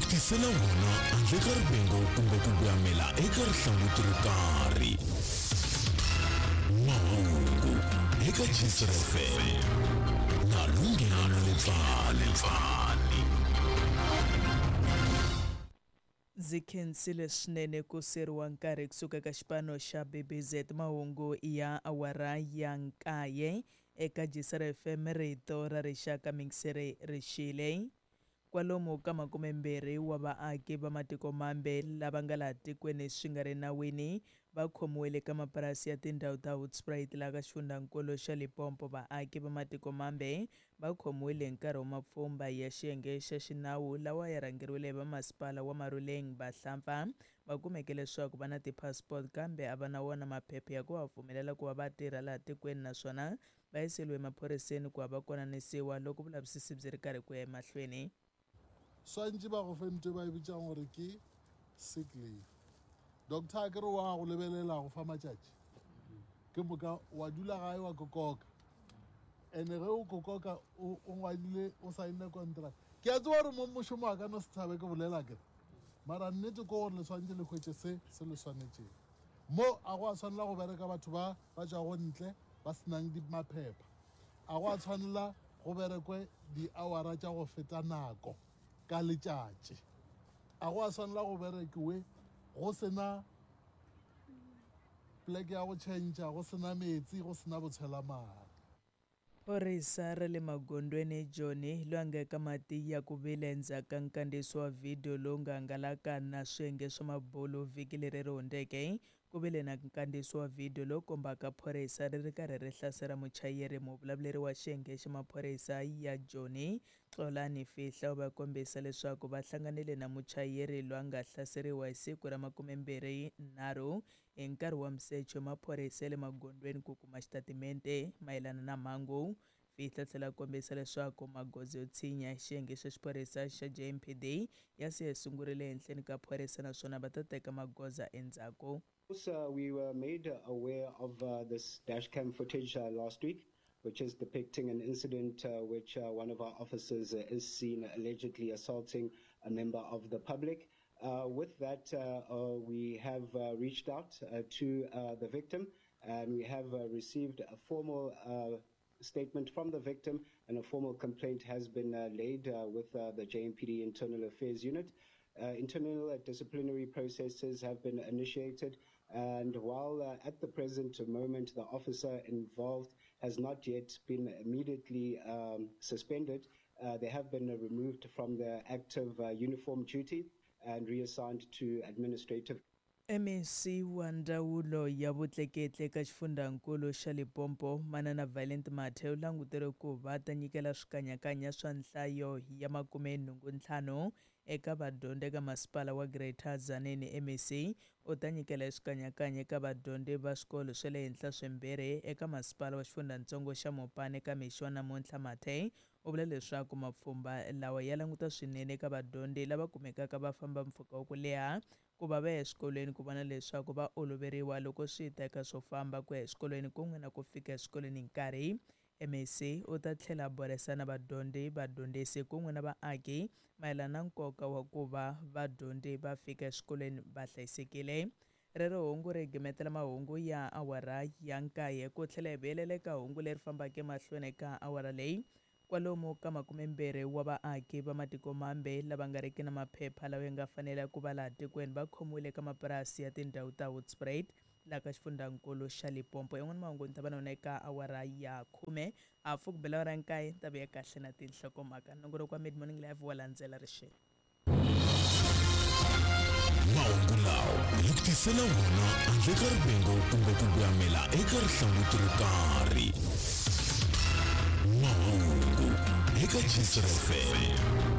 ku tisela wona handle ka rivengo kumbe ku voyamela eka rihlanguti ro karhi. Mahungu eka Jisr FM na Lunghelo Lepfani. Ndzi khensile swinene ku siyeriwa nkarhi kusuka ka xipano xa BBZ mahungu ya awara ya nkaye eka Jisr FM rito ra rixaka mingiseri rixile. Kwalomu ka 20 wa vaaki va matiko mambe lava nga laha tikweni swi nga ri nawini va khomiwile ka mapurasi ya tindhawu ta Hoedspruit laha ka xifundzankulu xa Limpopo. Vaaki va matiko mambe va khomiwile hi nkarhi wa mapfhumba ya xiyenge xa xinawu lawa ya rhangeriwile hi vamasipala wa Maruleng. Vahlampfa va kumeke leswaku va na ti-passport kambe a va na wona maphepha ya ku va pfumelela ku va va tirha laha tikweni, naswona va yiseriwe emaphoriseni ku va va konanisiwa loko vulavisisi byi ri karhi ku ya emahlweni. Swantši ba go fe ntho e ba e bitšang gore ke sick leave. Doctor a ke re wa go lebelela go fa matšatši, ke moka wa dula gae wa kokoka. Ene ge o kokoka o ngwadile o saenne contract. Ke a tseba gore mo mošomo wa ka no se tshabe ke bolela ke re, mara nnete ke gore le swantše le hwetše se se le swanetšeng. Mo a go a tshwanela go bereka batho ba ba tšwago ntle ba senang di maphepha. A go a tshwanela go berekwe di-hour tša go feta nako ka letšatši. A go a tshwanela go berekiwe go sena pleke ya go tšhentšha, go sena metsi, go sena botshwelamare. Phorisa ra le magondweni Joni loyi a nga eka mati ya ku vila endzhaku ka nkandziyiso wa vhidiyo lowu nga hangalaka na swiyenge swa mabulu vhiki leri ri hundzeke. Ku vile na nkandziyiso wa vhidiyo lowu kombaka phorisa ri ri karhi ri hlasela muchayeri. Muvulavuleri wa xiyenge xa maphorisa ya Joni, Xolani Fihla, u va kombisa leswaku va hlanganile na muchayeri loyi a nga hlaseriwa hi siku ra 23 hi nkarhi wa misecho maphorisa ya le magondweni ku kuma xitatimente mayelana na mhangu. Fihla tlhela kombisa leswaku magoza yo tshinya xiyenge xa xiphorisa xa JMPD ya se ya sungurile ehenhleni ka phorisa naswona va ta teka magoza endzhaku. We were made aware of this dashcam footage last week, which is depicting an incident which one of our officers is seen allegedly assaulting a member of the public. With that, we have reached out to the victim, and we have received a formal statement from the victim, and a formal complaint has been laid with the JMPD Internal Affairs Unit. Internal disciplinary processes have been initiated, and while at the present moment the officer involved has not yet been immediately suspended, they have been removed from their active uniform duty and reassigned to administrative. MEC wa ndzawulo ya vutleketli eka xifundzankulu xa Limpopo, Manana Violent Mathe, u languteriwe ku va ta nyikela swikanyakanya swa nhlayo ya 85 eka vadyondzi eka masipala wa Greater Tzaneen. MEC u ta nyikela swikanyakanya eka vadyondzi va swikolo swa le henhla swimbirhi eka masipala wa xifundzatsongo xa Mopani eka mixo wa namuntlha. Mathe u vula leswaku mapfhumba lawa ya languta swinene eka vadyondzi lava kumekaka va famba mpfhuka wa ku leha ku va va ya eswikolweni, ku vona leswaku va oloveriwa loko swi ta eka swo famba ku ya eswikolweni kun'we na ku fika eswikolweni hi nkarhi. MEC u ta tlhela a burisana na vadyondzi, vadyondzisi kun'we na vaaki mayelana na nkoka wa ku va vadyondzi va fika eswikolweni va hlayisekile. Rero hungu ri gimetela mahungu ya awara ya 9 ku tlhela hi vuyelela eka hungu leri fambaka emahlweni eka awara leyi. Kwalomu ka 20 wa vaaki va matiko mambe lava nga riki na maphepha lawa ya nga fanela ku va laha tikweni va khomiwile eka mapurasi ya tindhawu ta Hoedspruit laha ka xifundzankulu xa Limpopo. Yan'wana mahungu ni ta va na wona eka awara ya 10 hafu ku bela awara ya 9 ta vuya kahle na tinhlokomhaka. Nongonoko wa Mid Morning Live wa landzela rixeni. Mahungu lawa hi ku tisela wona handle ka rivengo kumbe ku voyamela eka rihlanguti ro karhi. Mahungu eka Jisr FM.